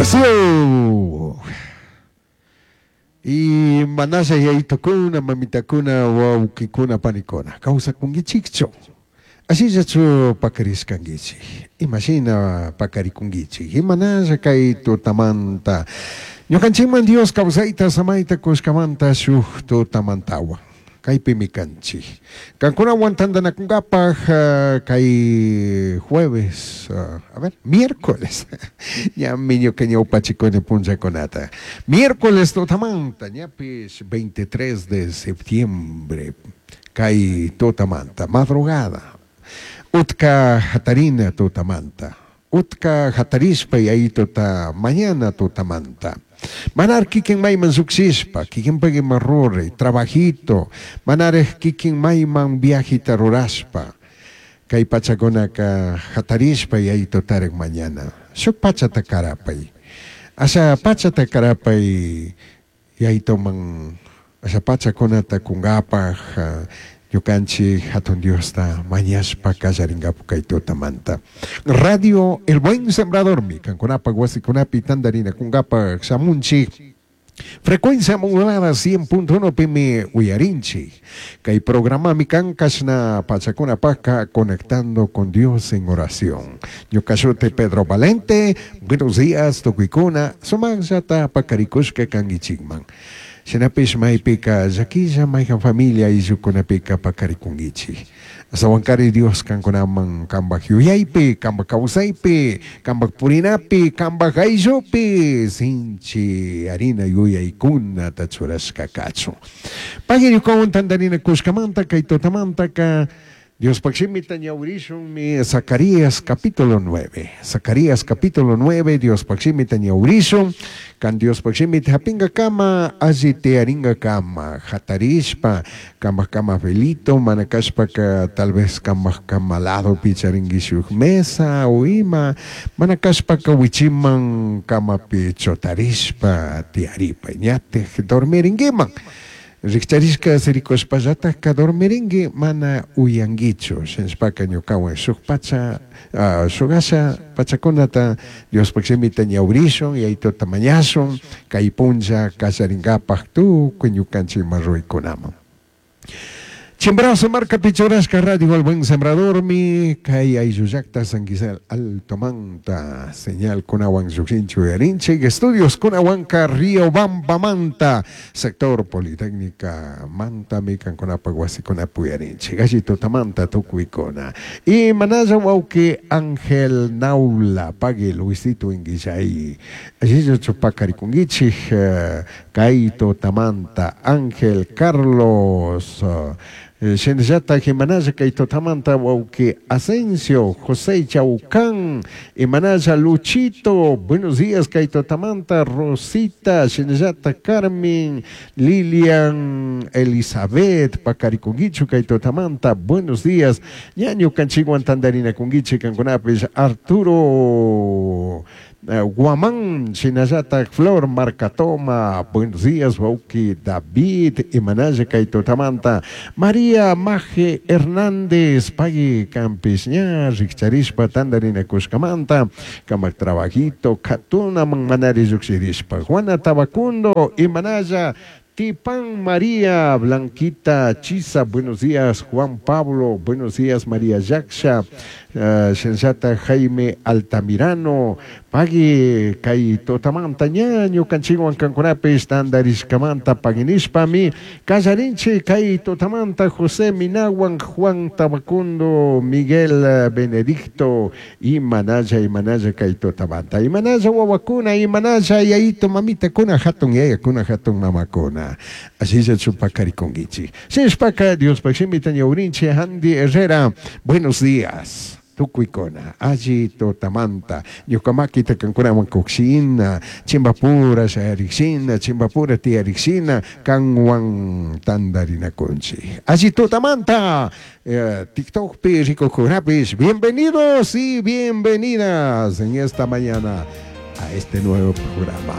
Wasiyuq. Y manalla yayitukuna, mamitakuna, wawqikuna, panikuna, kawsakunkichikchu? Ashillachu pakarishkankichik? Imashina pakarikunkichik? Imanalla kay tutamanta ñukanchikman Dios kawsayta samayta kushkamanta shuk tutamantawan kaypimi kanchik. Kankunawan tantanakunkapaj kay jueves, a ver, miércoles, ñami ñuka ñawpachikuni punllakunata. Miércoles tutamanta, ñapish 23 de septiembre, kay tutamanta, madrugada, utka hatarina tutamanta, utka hatarishpa yayituta mañana tutamanta. Manar kikin mayman lluqshishpa, kikinpak ima ruray, trabajito, manaraj kikin mayman viajita rurashpa, kay pachakunaka hatarishpa yayitutarik mañana. Shuk pachata karapay. Asha pachata karapay yayituman asha pachakunata kunkapaj ñukanchik hatun Diosta mañashpa kallarinkapu kay tutamanta. Radio El Buen Sembradormi kankunapak wasikunapi tantarinakunkapaj shamunchik. Frecuencia modulada 100.1 pimi uyarinchik. Kay programami kan kashna pachakunapajka Conectando con Dios en Oración. Ñuka shuti Pedro Valente, buenos días tukuykuna, sumaqllata pakarikushka kankichikman. Shinapish maypika llakilla mayjan familia ayllukunapika pakarikunkichik. Astawankari Dios kankunaman kanpak yuyaypi, kanpak kawsaypi, kanpak purinapi, kanpak ayllupi sinchi harina yuyaykunata churashka kachun. Pagui ñukawan tantarina kushkamanta kay tutamantaka Diospak shimita ñawrishunmi Zacarías capítulo 9. Zacarías capítulo 9 Diospak shimita ñawrishun. Kan Diospak shimita hapingakama alli tiyaringakama hatarishpa kanpak kama velito mana kashpaka tal vez kanpak kama ladopi charinki shuk mesa o ima mana kashpaka wichiman kamapi chutarishpa tiyaripay ñatik dormirinkiman. Rikcharishka sirikushpallatajka dormirinki mana uyankichu shinashpaka ñukawan shuk pacha shuk asha pachakunata Diospak shimita ñawrishun yayituta mañashun kay punlla kallarinkapak tukuy ñukanchik ima ruraykunaman. Chimborazo markapi churashka Radio El Buen Sembradormi kay ayllu llakta San Gisel Altomanta señal kunawan llukshinchik uyarinchik estudios kunawanka Riobambamanta sector Politécnica mantami kankunapak wasikunapi uyarinchik alli tutamanta tukuykuna. Y manalla wawki Ángel Naula pagui Luisito Inguillay allillachu pakarikunkichik kay tutamanta Ángel Carlos Shinallata imanalla kay tutamanta wawki Asensio, José Chaucán, imanalla Luchito, buenos días kay tutamanta Rosita, shinallata Carmen, Lilian, Elizabeth, pakarikunkichu kay tutamanta, buenos días, ñañu kanchikwan tantarinakunkichik kankunapish Arturo Guamán, shinallata Flor Marcatoma, buenos días, wawki David, imanalla kay tutamanta, María Maje Hernández, pagui kampish ña rikcharishpa tantarinakushkamanta, kamak trabajito, katunaman manari llukshirishpa, Juana Tabacundo, imanalla Tipán María Blanquita Chisa, buenos días, Juan Pablo, buenos días, María Yaksha, Shinallata Jaime Altamirano, pagui kay tutamanta ña ñukanchikwan kankunapish tantarishkamanta paguinishpami kallarinchik kay tutamanta José Minawan, Juan Tabacundo, Miguel Benedicto, imanalla, imanalla kay tutamanta, imanalla wawakuna, imanalla yayito mamitakuna, hatun yayakuna, hatun mamakuna. Asilla chupakarikunkichik. Shinashpaka Diospak shimita ñawrinchik Andy Herrera, buenos días. Tukuykuna, alli tutamanta, ñuka makita kankunawan kukshina, chimbapura shayarikshina, chimbapura tiyarikshina, kanwan tantarinakunchik. Alli tutamanta, TikTokpi rikukunapish, bienvenidos y bienvenidas en esta mañana a este nuevo programa.